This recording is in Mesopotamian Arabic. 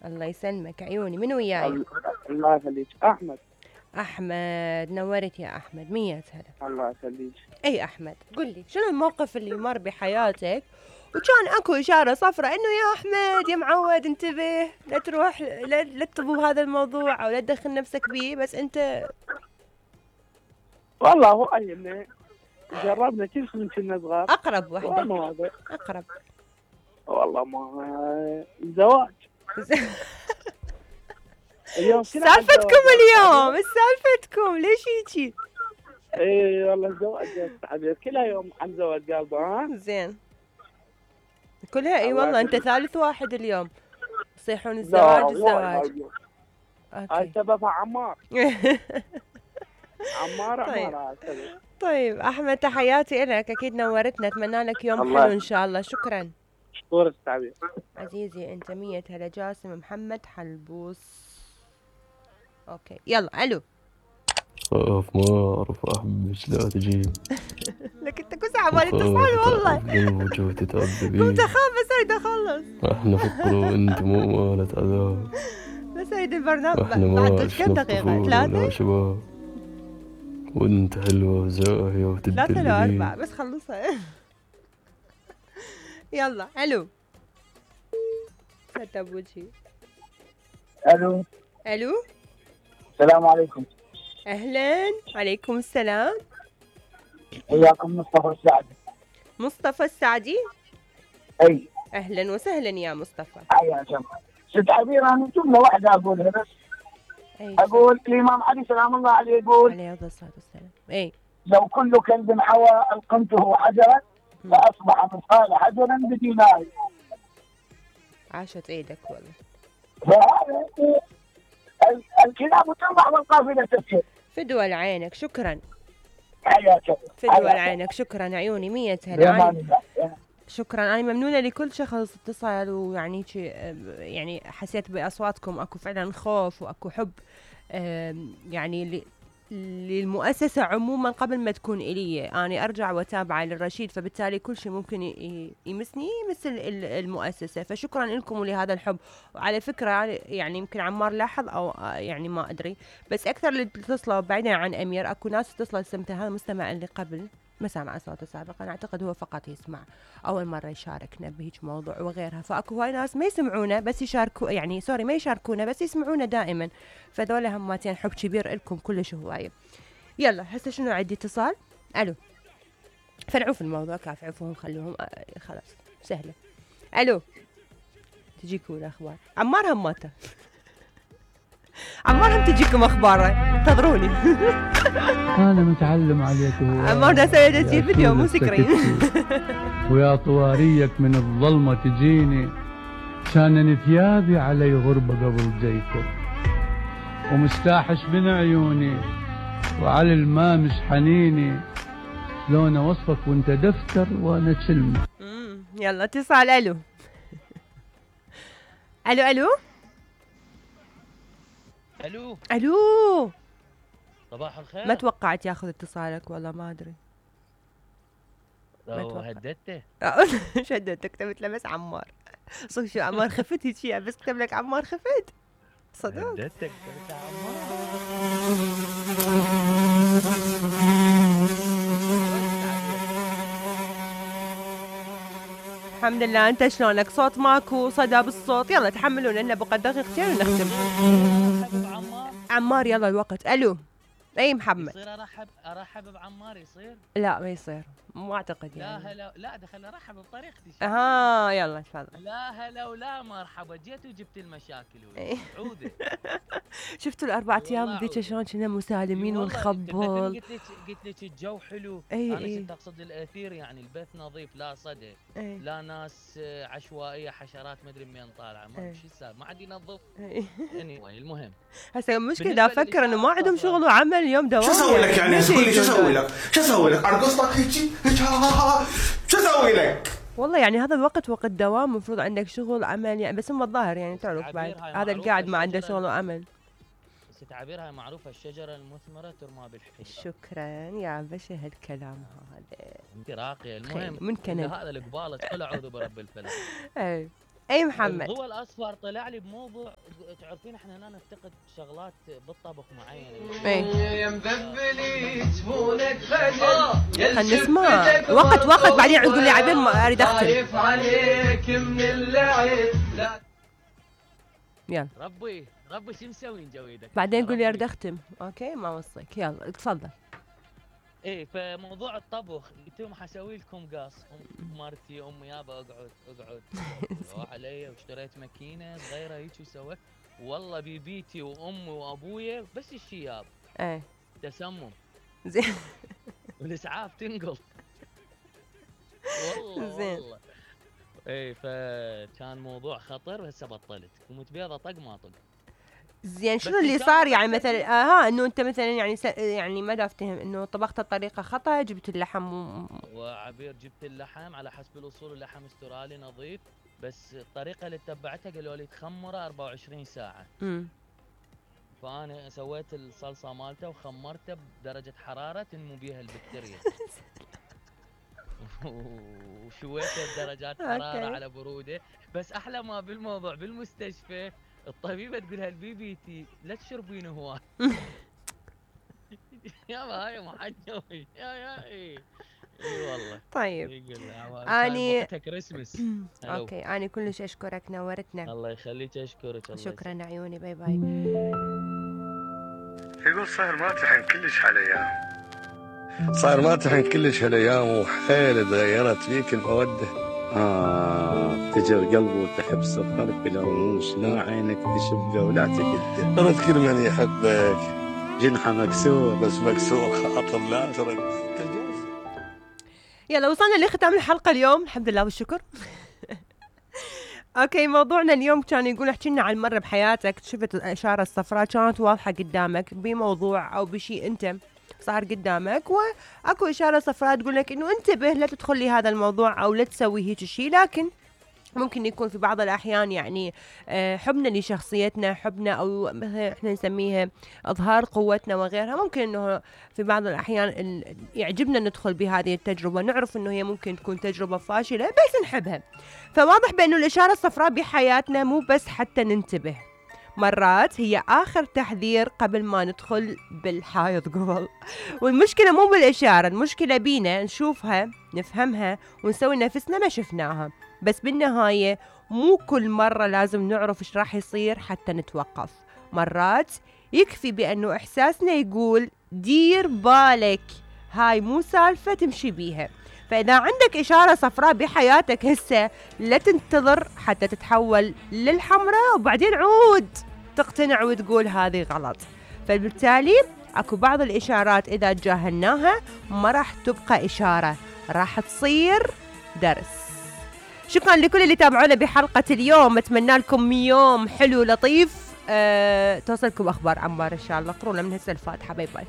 الله يسلمك عيوني. من وياي؟ الله يخليك. احمد. احمد نورت يا احمد. 100 هلا. الله يخليك. اي احمد قل لي شنو الموقف اللي مر بحياتك وكان اكو اشاره صفراء انه يا احمد يا معود انتبه لا تروح لا تطبو هذا الموضوع او لا تدخل نفسك بيه، بس انت والله هو أيامنا جربنا كل شيء كنا صغار. اقرب وحده. ما هذا اقرب. والله ما الزواج. اليوم سالفتكم اليوم، ايش سالفتكم؟ ليش هيجي؟ اي والله الزواج يا حبيبي كلها يوم عن زواج قلبه. ها زين كلها اي والله. انت ثالث واحد اليوم يصيحون الزواج الزواج. هاي سببها عمار. عمار طيب. عمار. طيب احمد تحياتي لك، اكيد نورتنا، اتمنى لك يوم حلو ان شاء الله. شكرا شكرا استاذ عزيزي. انت 100 هلا. جاسم محمد حلبوس. اوكي يلا. الو. خاف ما اعرف احبك لا تجي لك انت كل ساعه مالي اتصال والله. كنت اخاف بس اريد اخلص. احنا فكر وانت مو مالت عذاب. بس اريد البرنامج بعد كم دقيقه؟ 3 شباب وانت حلوه وزاهيه وتدلي 3 ل 4 بس خلصها. يلا. الو. ستة بوجهي. الو. الو. السلام عليكم. اهلا. عليكم السلام. وياكم مصطفى السعدي. مصطفى السعدي. اي اهلا وسهلا يا مصطفى. حياك الله. ست عبير انا جمله واحده اقولها بس. اقول الامام علي سلام الله عليه يقول عليه الصلاه والسلام اي لو كل كلب حوى القمته حجرا فاصبح مثقال حجر بدينار. عاشت ايدك والله. فهذا الكلاب تربح والقافله تسير. فدوى لعينك. شكرا. حياك الله. فدوى لعينك. شكرا عيوني. 100 هلا. شكرا. انا ممنونه لكل شخص اتصل ويعني يعني حسيت باصواتكم اكو فعلا خوف واكو حب يعني للمؤسسه عموما قبل ما تكون الي. انا ارجع واتابع للرشيد، فبالتالي كل شيء ممكن يمسني يمس المؤسسه. فشكرا لكم ولهذا الحب. وعلى فكره يعني يمكن عمار لاحظ او يعني ما ادري، بس اكثر اللي اتصلوا بعيدا عن امير اكو ناس اتصلت سمتها هذا المستمع اللي قبل ما سمع صوته سابقا. انا اعتقد هو فقط يسمع اول مره يشاركنا بهيج موضوع وغيرها. فاكو هاي ناس ما يسمعونا بس يشاركوا، يعني سوري ما يشاركونا بس يسمعونا دائما. فذول هماتين حب كبير لكم كلش هوايه. يلا هسه شنو عندي اتصال. الو. فرعوا في الموضوع كاف عفوهم خلوهم خلاص سهله. الو. تجيكم الاخبار. عمار هماته. عمار هم تجيكم اخباره انتظروني. انا متعلم عليك. عمار ده سوي تسجيل فيديو مو سكرين. ويا طواريك من الظلمه تجيني كان ثيابي علي غربه قبل جيتك ومستاحش من عيوني وعلى الماء مش حنيني شلون اوصفك وانت دفتر وانا كلمه. يلا اتصال. الو. الو. الو. الو. الو. صباح الخير. ما توقعت ياخذ اتصالك والله ما ادري. لو هددته. شددته كتبت له بس عمار. صدق شو عمار خفت هيك بس كتب لك عمار خفت. صدق. هددتك كتبت عمار. الحمد لله. انت شلونك؟ صوت ماكو صدى بالصوت. يلا تحملونا لنا بقى دقيقتين ونختم. عمار يلا الوقت. الو. اي محمد. يصير ارحب بعمار يصير؟ لا ما يصير ما اعتقد يعني. لا هلا لا دخل ارحب بطريقتي. يلا تفضل. لا هلا ولا مرحبا. جيت وجبت المشاكل عوده. شفتوا الاربع ايام ذيك شلون كنا مسالمين ونخبل. قلت لك الجو حلو. انا كنت اقصد الاثير يعني البث نظيف لا صدى لا ناس عشوائيه حشرات ما ادري منين طالعه ما شو السالفه ما عاد ينظف. anyway المهم هسه المشكله افكر انه ما عندهم شغل وعمل اليوم دوام. شو اسوي لك يعني؟ قول لي شو اسوي لك؟ شو اسوي لك؟ ارقص لك هيك شو اسوي لك؟ والله يعني هذا الوقت وقت دوام المفروض عندك شغل عمل يعني، بس هم الظاهر يعني تعرف بعد هذا القاعد ما عنده شغل وعمل. بس تعابيرها معروفه الشجره المثمره ترمى بالحجر. شكرا يا باشا هالكلام هذا. انت راقيه. المهم من كان هذا القباله كل اعوذ برب الفلق. اي اي محمد. الضوء الاصفر طلع لي بموضوع، تعرفين احنا هنا نفتقد شغلات بالطبخ معينه. يا مذبلي جفونك فجر نسمع وقت بعدين تقول لي عبين ما اريد اختم. عليك من اللعب. يلا ربي شو مسوي جويدك بعدين قول لي اريد اختم. اوكي ما وصيك، يلا تفضل. ايه فموضوع الطبخ انتم حسوي لكم قاص. مرتي امي يابا اقعد روح علي، واشتريت ماكينه صغيره هيك وسويت. والله بيبيتي وامي وابويا بس الشياب تسمم زين والاسعاف تنقل والله ايه. فكان موضوع خطر، هسه بطلت قمت بيضه طق ما طق. زين شنو اللي صار يعني مثلا انه انت مثلا يعني ما دا افتهم انه طبخت بطريقه خطا، جبت اللحم وعبير جبت اللحم على حسب الاصول، اللحم استرالي نظيف، بس الطريقه اللي اتبعتها قالوا لي تخمره 24 ساعه. فانا سويت الصلصه مالته وخمرته بدرجه حراره تنمو بيها البكتيريا وشويته بدرجات حراره على بروده. بس احلى ما بالموضوع بالمستشفى الطبيبه تقولها البيبيتي لا تشربين هواي. يابا هاي محجوي يا اي والله. طيب اني كريسمس. اوكي اني كلش اشكرك، نورتنا. الله يخليك، اشكرك. الله شكرا عيوني، باي باي. يقول صاير ما تحن كلش هالايام، صاير ما تحن كلش هالايام، وحيل تغيرت فيك الموده. تجر قلبي وتحب صفرك بلا رموش، لا عينك تشبه ولا تكده. رد كل من يحبك، جنحه مكسور بس مكسور خاطر لا ترد. يلا وصلنا لختام الحلقه اليوم، الحمد لله والشكر. اوكي موضوعنا اليوم كان يقول احكي لنا عن مره بحياتك شفت الاشاره الصفراء كانت واضحه قدامك بموضوع او بشيء انت صار قدامك، واكو اشاره صفراء تقول لك انه انتبه لا تدخل لي هذا الموضوع او لا تسوي هيك شيء. لكن ممكن يكون في بعض الأحيان يعني حبنا لشخصيتنا، حبنا أو مثلا إحنا نسميها إظهار قوتنا وغيرها، ممكن إنه في بعض الأحيان يعجبنا ندخل بهذه التجربة، نعرف إنه هي ممكن تكون تجربة فاشلة بس نحبها. فواضح بأنه الإشارة الصفراء بحياتنا مو بس حتى ننتبه، مرات هي آخر تحذير قبل ما ندخل بالحائط قبل. والمشكلة مو بالإشارة، المشكلة بينا نشوفها نفهمها ونسوي نفسنا ما شفناها. بس بالنهاية مو كل مرة لازم نعرف إيش راح يصير حتى نتوقف. مرات يكفي بأنه إحساسنا يقول دير بالك، هاي مو سالفة تمشي بيها. فإذا عندك إشارة صفراء بحياتك هسه لا تنتظر حتى تتحول للحمراء وبعدين عود تقتنع وتقول هذه غلط. فبالتالي أكو بعض الإشارات إذا تجاهلناها ما راح تبقى إشارة، راح تصير درس. شكرا لكل اللي تابعونا بحلقة اليوم، أتمنى لكم يوم حلو لطيف، توصلكم أخبار عمار إن شاء الله. قرونا من هسه الفاتحة. باي باي.